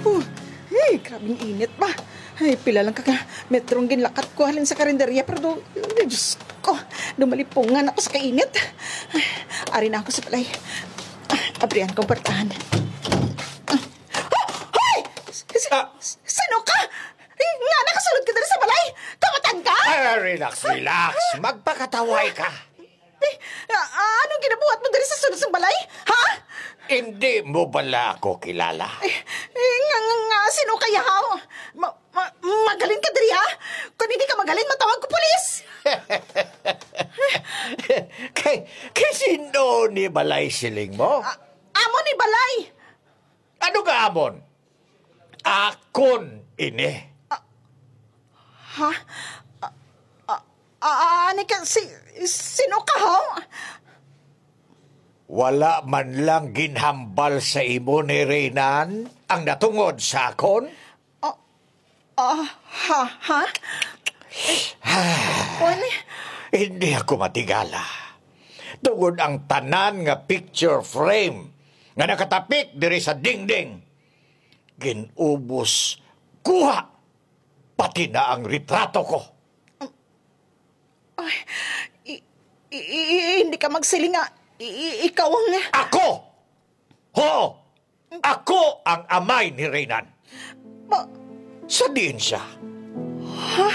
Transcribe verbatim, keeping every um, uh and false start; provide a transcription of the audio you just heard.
Huh. Hey, grabing init ba? Ay, pila lang ka, ka metrong ginlakat ko halin sa karinderya, pero do, ay, Diyos ko, dumalipungan ako sa kainit. Ay, ari na ako sa balay. Ah, abrihan kong portahan. Ah, hoy! Si- Ah. Sino ka? Eh, nga nakasulod ka diri sa balay? Kamatan ka? Ah, relax, relax. Magpakataway ka. Eh, ah, ah, anong ginabuhat mo diri sa sulod sang balay? Ha? Hindi mo bala ako kilala? Eh, eh, nga, nga, nga, sino kaya, haw? Ma, ma, magalin ka diri, ha? Kung hindi ka magalin, matawag ko pulis. Kay, kay sino ni balay siling mo? Ah, amo ni balay. Ano nga amon? Akon ini. Ha? Ah, ah, ah, ani ka, si, sino ka, ho? Wala man lang ginhambal sa imo ni Reynan ang natungod sa akon? Ah, ah, ha? Eh, kuwan eh. Hindi ako matigala. Tungod ang tanan nga picture frame nga nakatapik diri sa dingding, ginubos, kuha, pati na ang retrato ko. Ay, i, i, i, hindi ka magsiling nga i, i, ikaw ang... Ako! Ho! Ako ang amay ni Reynan. Ma- Sa diin siya? Ha?